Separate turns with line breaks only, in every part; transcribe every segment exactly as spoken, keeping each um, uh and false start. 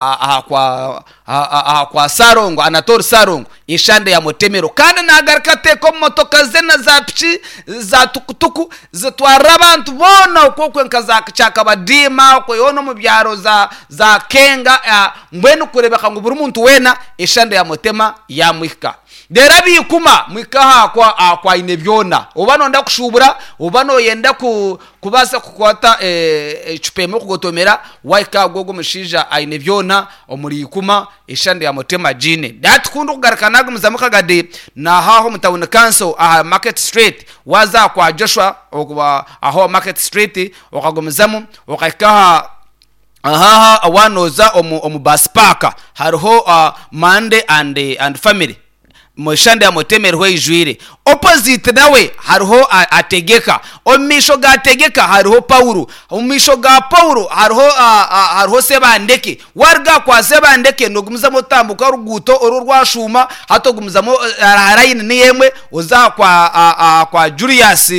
Aha kwa aha kwa Sarongo Anatole Sarongo eshande ya Mutemero kandi nagaruka ateeka omu motoka ze na za piki za tukutuku zitwarira abantu boona okwo nka za Kyakabadiima okwo yoona omu byaro za za Kenga mbwenu kureebeka ngu buri muntu weena eshande ya Mutema yamuhika. Reero abaikuma muhike aha kwa aha kwa Ainebyona oba nooyenda kushuubura oba nooyenda kubaasa kukwata ecupa emwe kugotomera wahika aha gw'ogwo omushaija Ainebyona omuri Ikuma eshande ya Mutema agiine. Hati ku ndikugaruka naagumizamu Kagadi naaha omu town council aha Market Street waaza aha kwa Joshua aho aha Market Street okagumizamu okahika aha aha waaba nooza omu bus park hariho Monday and, and family eshande ya Mutema eriho eijwire. Opposite nawe hariho Ategeka, omu maisho ga Ategeka hariho Paulo, omu maisho ga Paulo hariho hariho Sebandeke, waaruga aha kwa Sebandeke noogumizamu otambuka oruguuto oru orwashuuma hati ogumizamu layini niyo emwe oza aha kwa aha kwa Julius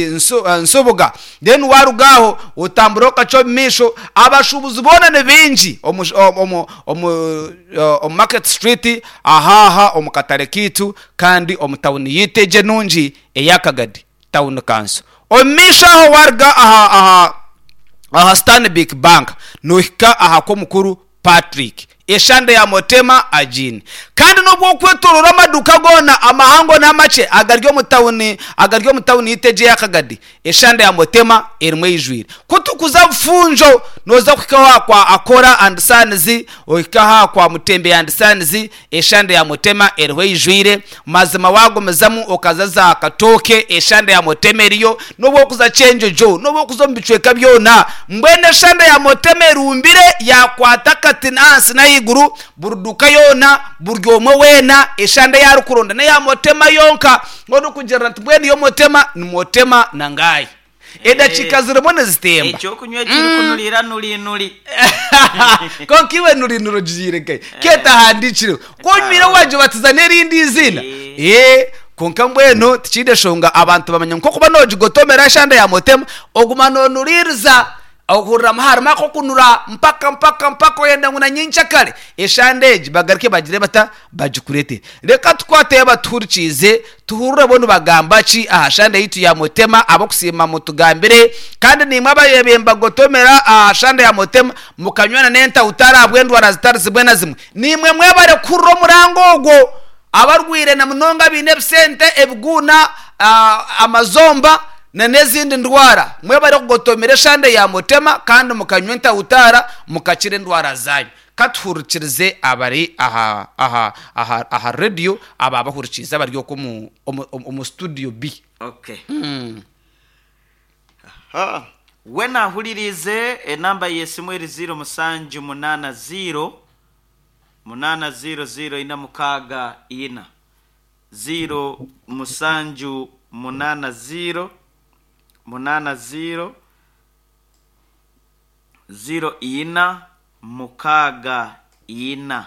Nsubuga then waaruga aho otambura okacwa omu maisho abashuubuzi boona ni baingi omu omu omu Market Street aha aha omu katare kaitu kandi omu tawuni yaitu egi enungi eya Kagadi Town Council. Omu maisho aho waaruga aha aha aha Stanbic Bank noohika aha kw'omukuru Patrick eshande ya Mutema agiine. Kandi n'obu okwetooroora amaduuka goona amahango n'amakye agari omu tawuni agari omu tawuni yaitu egi eya Kagadi eshande ya Mutema erimu eijwire. Ku turikuza Bufunjo nooza kuhikaho aha kwa Akora and Sons, ohike aha kwa Mutembe and Sons, eshande ya Mutema eriho eijwire. Mazima waagumizamu okaza za Katooke eshande ya Mutema eriyo, n'obu orikuza Kyenjojo, n'obu orikuza omu bicweka byona. Mbwenu eshande ya Mutema erumbire yaakwata akati ahansi n'ahaiguru, buri duuka yoona, buri omwe weena eshande ei arikuronda n'eya Mutema yonka. Orikugira nti mbwenu yo Mutema ni Mutema na ngaahi. Edakiika zirimu nizitemba.
Ekyokunywa ekirikunurira nuri nuri.
Kwonka iwe nuri nuri ogihaire nkahi? Ketahandiikireho. Ku onywire waagibatiza n'erindi eiziina. Ee, kwonka mbwenu tikiine nshonga abantu bamanya ngu nk'okuba noogigotomera eshande ya Mutema, oguma noonuriiriza ohuriramu harimu ak'okunura mpaka mpaka mpaka oyenda ngu na nyenkyakare eshande egi bagaruke bagire bata? Bagikureetere. Reka tukwateyo abatuhurikiize tuhurire bo nibagamba ki aha shande yaitu ya Mutema. Ab'okusiima mutugambire kandi naimwe abareebe nibagotomera aha shande ya Mutema mukanywana n'entahutari ahabw'endwara zitari zimwe na zimwe. Naimwe mwebare kuhurira omuranga ogwo. Abarwaire na munonga abaine ebisente, ebiguuna, amazomba na n'ezindi ndwara mwebare kugotomera eshande ya Mutema kandi mukanywa entahutara mukakira endwara zaanyu. Katuhurikirize abari aha aha aha aha rediyo aba bahurikiize abari okwo omu omu omu studio B.
Okay. Aha. We naahuririize enamba y'esimu eri ziiro mushanju munaana ziiro munaana ziiro ziiro ina mukaaga ina. Ziiro mushanju munaana ziiro munaana ziiro ziiro ina mukaaga ina.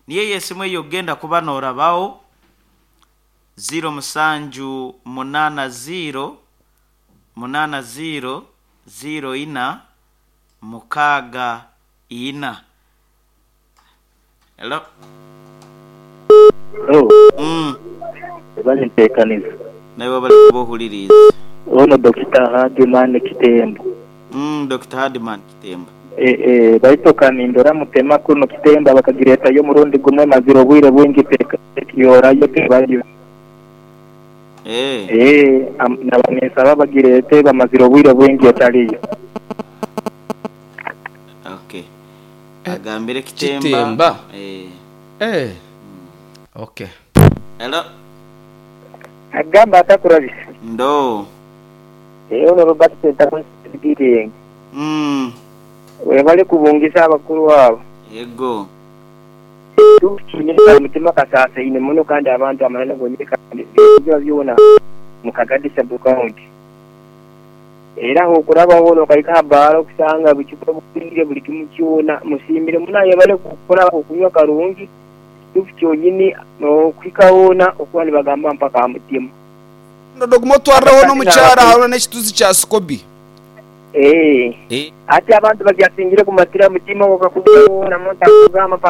Niyo ey'esimu ei okugenda kuba noorabaho ziiro mushanju munaana ziiro munaana ziiro ziiro ina mukaaga ina. Hello.
Hello,
Mm.
bali nteekaniza.
Naiwe bali kuba ohuririize.
Ono Dokita Hardman Kitembo.
Mm, Dokita Hardman Kitemba.
E, e, baitoka nindora Mutema kuno Kitemba bakagireetayo omurundi gumwe mazire obwire bwingi tekiyorayo tebayo.
Eh.
Eh, am- naba ninsaba bagireete bamazire obwire bwingi etaliyo.
Okay. Agambire Kitemba.
Kitemba.
Eh.
Eh. Okay.
Hello.
Agamba atakurabisa.
Ndo.
Eh, ono Robert Sentamu
Mm.
webale kubungisa abakuru abo.
Ego.
Tukinyesa omutima kasaasaine muno kandi abantu amanene gonyine kandi biba byona mu Kagadi sub county. Era okurabaho nokahika aha baara okusanga bucupa bwire buri kimwe kyona musiimire muno bale kukora okunywa karungi kituufu kyonyini n'okuhika hoona okuba nibagamba mpaka aha mutima.
Ndoguma otwariraho n'omukyara hariho n'ekituzi kya Sikobi.
Eh.
Eh.
Ati abantu bagyasingire kumatira mutima wakakuona muntu akugamba paka.